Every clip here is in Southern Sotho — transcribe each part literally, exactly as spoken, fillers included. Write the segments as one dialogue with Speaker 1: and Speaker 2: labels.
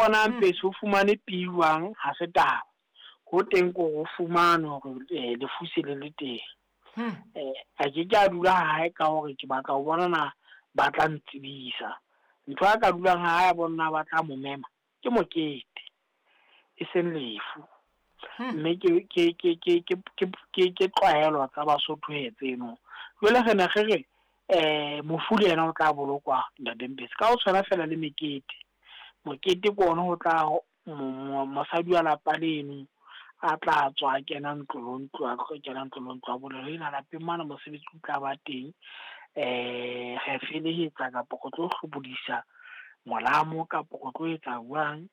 Speaker 1: Hore na Mpesi o fumane piwang ha se taba. Ho teng ko ho fumane hore eh, lefu se le le teng.
Speaker 2: Hmm.
Speaker 1: Eh, a ke ke a dula hae ka hore ke batla ho bona na ba tla ntsebisa. Ntho a ka dulang hae a bona ba tla mo mema ke mokete, e seng lefu.
Speaker 2: Hmm.
Speaker 1: Mme ke ke ke ke ke ke ke ke tlwaelo tsa Basotho he tseno. Jwale re ne re re eh mofu le yena o tla bolokwa ntate Mpesi ka ho tshwana fela le mekete. Mokete ke ona ho tla mo- mo- mosadi wa lapa leno a tla tswa a kena ntlo le ntlo, a tlo kena ntlo le ntlo a bolela ena lapeng mane mosebetsi o tla ba teng. Eh re felehetsa kapa go tlo hlobodisa molamo kapa go tlo etsa jwang,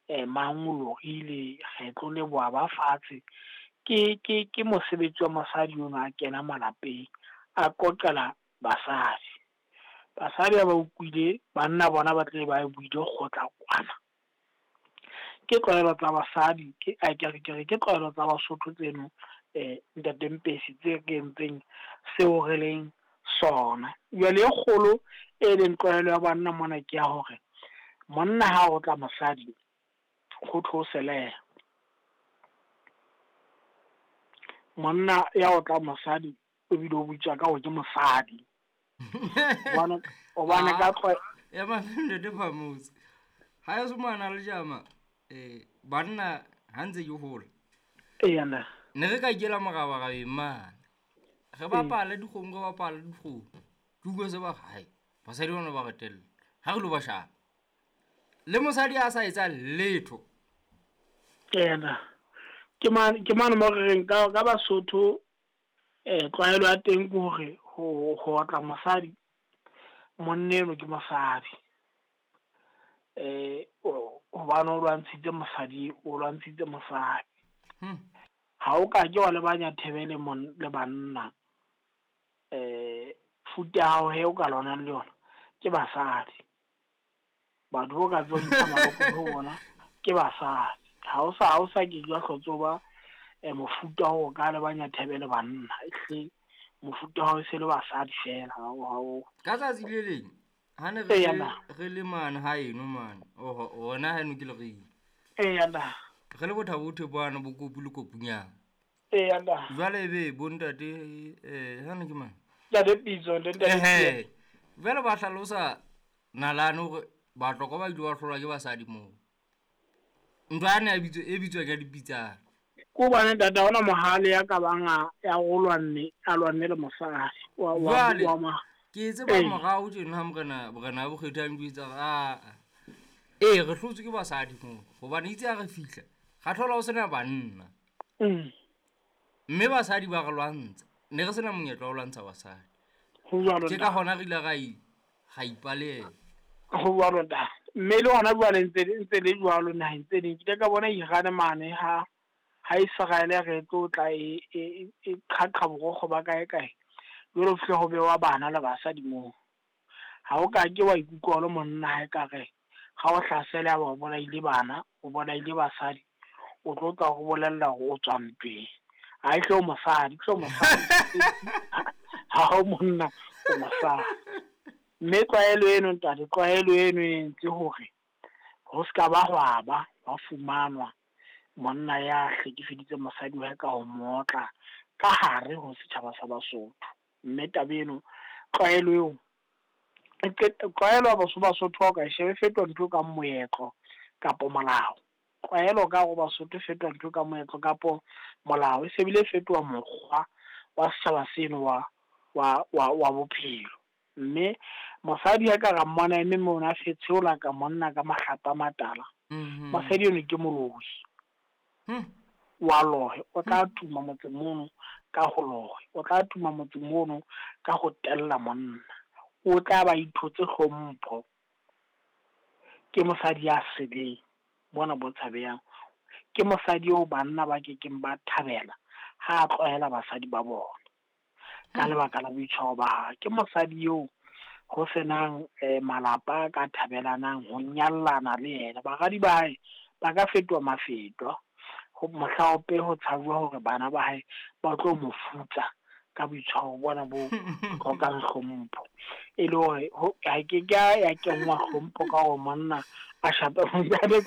Speaker 1: eh mang o lorile, re tlo leboha ba fatshe. Ke ke ke mosebetsi wa mosadi ono a kena malapeng a qoqela basadi. Basadi ha ba utlwile, banna bona ba tle ba buile kgotla kwana. Ke tlwaelo tsa basadi, ke a ke re ke re ke tlwaelo tsa Basotho tseno eh ntate Mpesi tse re entseng seo re leng sona. Jwale e kgolo e leng tlwaelo ya banna mona ke ya hore monna ha o tla mosadi ho thwe o selehe. Monna ya otla mosadi o bile o bitswa ka hore ke mosadi. Hobane hobane ka tlwaelo
Speaker 2: Ya ntate Phamotse. Ha eso mana le jama eh banna ha ntse ke hola.
Speaker 1: Eya na.
Speaker 2: Ne re ka ikela morabarabeng mane. Re bapale dikgomo, re bapale dikgomo. Ke utlwe se ba re, hai, basadi bona ba re tella. Ha re lo ba shapa. Le mosadi a sa etsa letho.
Speaker 1: Eya na. Ke mane ke mane mo re reng ka ka Basotho eh tlwaelo ya teng ke hore ho ho otla mosadi monna eno ke mosadi. Eh hobane o lwantshitse mosadi, o lwantshitse mosadi.
Speaker 2: Hmm.
Speaker 1: Ha o ka ke wa lebanya thebe le mon le banna. Eh futa ya hao he o ka lwanang le yona ke basadi. Batho bo ka tswa ntsha maloko ho bona ke basadi. Ha o sa ha o sa ke jwa hlotse ho ba eh mofuta wa o ka lebanya thebe le banna. Ehlile mofuta wa hao e se le basadi fela ha o ha o.
Speaker 2: Ka tsatsi le leng ha ne re
Speaker 1: Eya
Speaker 2: le
Speaker 1: na.
Speaker 2: re le mane ha eno mane, oho hona haeno ke Lereng.
Speaker 1: Eya na.
Speaker 2: Re le bothabo bana bo kopu le kopunyana.
Speaker 1: Eya na.
Speaker 2: Jwale ebe bo ntate eh hane ke mang?
Speaker 1: Ntate Pitso, ntate Pitso.
Speaker 2: Ehe. Jwale ba hlalosa nalane hore Batlokwa ba ile ba hlolwa ke basadi moo. Ntho yane ya bitswa e bitswa ka dipitsana.
Speaker 1: Ke hobane ntate ha hona mohale ya ka bang a ya o lwanne a lwanne le mosadi wa wa
Speaker 2: Jwale
Speaker 1: wa ma.
Speaker 2: ke tseba
Speaker 1: Ee.
Speaker 2: morao tjena ha morena morena wa Bokgethi a njwetsa hore aa ee re hlotswe ke basadi moo hobane itse ha re fihla ra thola ho sena banna.
Speaker 1: Mm.
Speaker 2: Mme basadi ba re lwantsha. Ne re sena monyetla wa ho lwantsha basadi.
Speaker 1: Ho jwalo
Speaker 2: Ke ka
Speaker 1: ntate.
Speaker 2: hona re ile ra i ra ipaleha.
Speaker 1: Ho jwalo ntate. Mme le hona jwale ntse ntse le jwalo naheng tse ding. Ke ile ka bona Iran mane ha ha Israel re tlo tla e e e qhaqha borokgo ba kae kae. Jwale ho fihla ho bewa bana le basadi moo. Ha o ka ke wa ikutlwa o le monna ha ekare ha o hlasela ya ba o bolaile bana, o bolaile basadi, o tlo tla ho bolella hore o tswa ntweng. Ha e hle o mosadi, hle o mosadi. Ha o monna, o mosadi. Mme tlwaelo eno ntate, tlwaelo eno e entse hore ho ska ba hwa ba hwa fumanwa monna ya hlekefeditseng mosadi wa hae ka ho mo otla ka hare ho setjhaba sa Basotho. Mme taba eno tlwaelo eo e qeta tlwaelo ya Basotho Basotho ha o ka e sheba e fetoha ntho e kang moetlo kapo molao. Tlwaelo ka hare ho Basotho e fetoha ntho e kang moetlo kapo molao, e se bile e fetoha mokgwa wa setjhaba seno wa wa wa wa bophelo. Mme mosadi ha ka ra mmona eme mona a fetsheola ka monna ka mahlapa a matala.
Speaker 2: Mhm.
Speaker 1: Mosadi eno ke moloi.
Speaker 2: Hmm.
Speaker 1: Wa lohe, o tla tuma motseng mono ka ho lohe, o tla tuma motseng mono ka ho tella monna. O tla ba ithotse hlompho. Ke mosadi ya sebeng bona bo tshabehang. Ke mosadi eo banna ba kekeng ba thabela ha a tlwaela basadi ba bona ka lebaka la boitshwaro ba hae. Ke mosadi eo ho senang eh, malapa a ka thabelanang ho nyallana le yena. Baradi ba hae ba ka fetoha mafetwa ho mohlaope ho tshajuwa hore bana ba hae ba tlo mo futsa ka boitshwaro bona bo hlokang hlompho. E le hore ho ha ke ka ya kenngwa hlompho ka hore monna a shape mosadi.